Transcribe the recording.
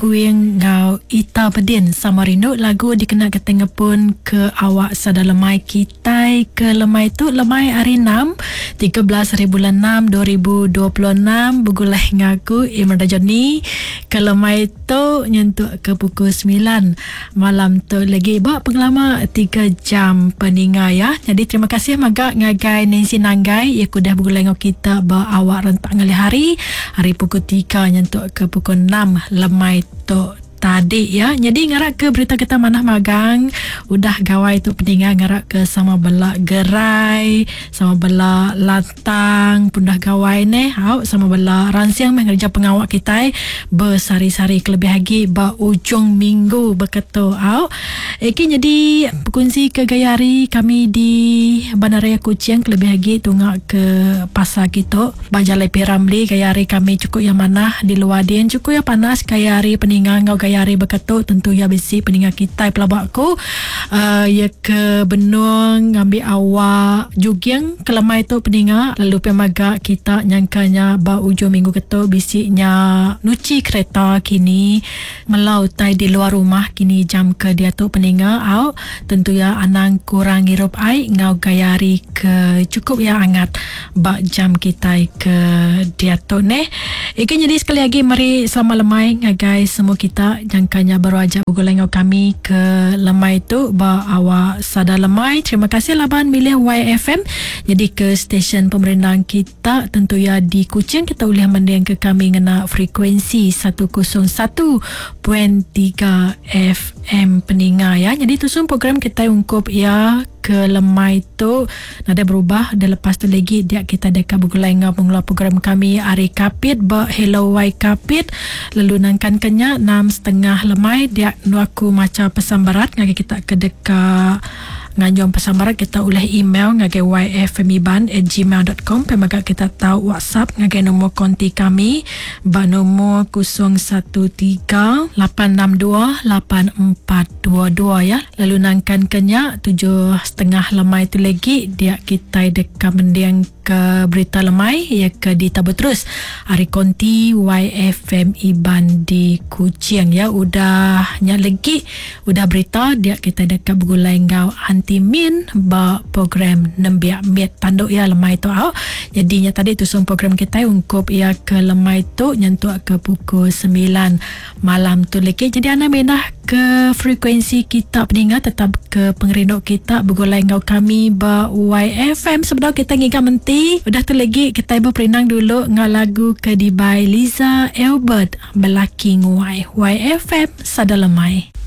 Kuing enggau Ita Bedin sama rindu lagu dikena kitai ngepun ke awak sada lemai kitai ke lemai tu lemai hari enam 13 hari bulan 6 2026 begulai enggau aku Imran Rajani ke lemai tu nyentuk ke pukul 9 malam tu lagi ba pengelama 3 jam peninga ya. Jadi terima kasih mega ngagai Nancy Nanggai ya udah begulai enggau kita ba awak rentak ngalih hari hari pukul 3 nyentuk ke pukul 6 lemai tu tadi ya. Jadi ngarap ke berita kita manah magang udah gawai tu peninga ngarap ke sama bela gerai, sama bela lantang pundah gawai neh. Au sama bela ransing meh ngereja pengawa kitai besehari-sehari kelebih agi ba ujung minggu beketu au. Eki nyadi bekunsi ke gaya hari kami di Bandaraya Kuching kelebih agi tunga ke pasar kitu ba Jalai P Ramli gaya hari kami chukup iya manah di luar din chukup iya panas gaya hari peninga enggau gaya hari beketu tentu iya bisi peninga kitai pelaba ku uhh iya ke benung ngambi awak juging ke lemai tu peninga lalu pia mega kita nyangka nya ba ujung minggu ketu bisi nya nuchi kereta kini. Mela utai di luar rumah kini jam ke diatu peninga au tentu iya anang kurang ngirup ai enggau gaya hari ke chukup iya angat ba jam kitai ke diatu neh. Igi nyadi sekali agi meri selamat lemai ngagai semua kita jangka nya baru aja begulai enggau kami ke lemai tu ba awak sada lemai. Terima kasih laban milih YFM nyadi ke stesen pemerindang kita. Tak tentu iya di Kuching kita ulih mendingka kami ngena frekuensi 101.3 FM peninga ya. Jadi tusun program kitai ungkup iya ke lemai tu nadai berubah dan lepas tu lagi dia kita deka begulai enggau pengeluar program kami ari Kapit ba Hello Y Kapit lalu nangkan ke nya 6.30 lemai dia endur aku macha pesan berat ngagai kita ke deka Nganjung pesan barat kita ulih email ngagai yfmiban@gmail.com pia mega kita tau WhatsApp ngagai nombor konti kami ba nombor 013 862 8422 ya. Lalu nangkan ke nya 7.30 lemai tu legi dia kitai deka mending ke berita lemai iya ke ditabur terus ari konti YFM Iban di Kuching ya. Udah nya legi Udah berita dia kitai deka begulai enggau Aunty Min ba program Nembiak Mit tandu iya lemai tu au. Nyadi nya tadi tusung program kitai ungkup iya ke lemai tu nyentuk ke pukul semilan malam tu legi. Jadi anang mindah ke frekuensi kita peninga tetap ke pengerindu kita begulai enggau kami ba YFM sebedau kitai ngiga menti. Udah tu legi kitai beperindang dulu enggau lagu ke dibai Liza Albert. Belaki Nguai. YFM Sada Lemai.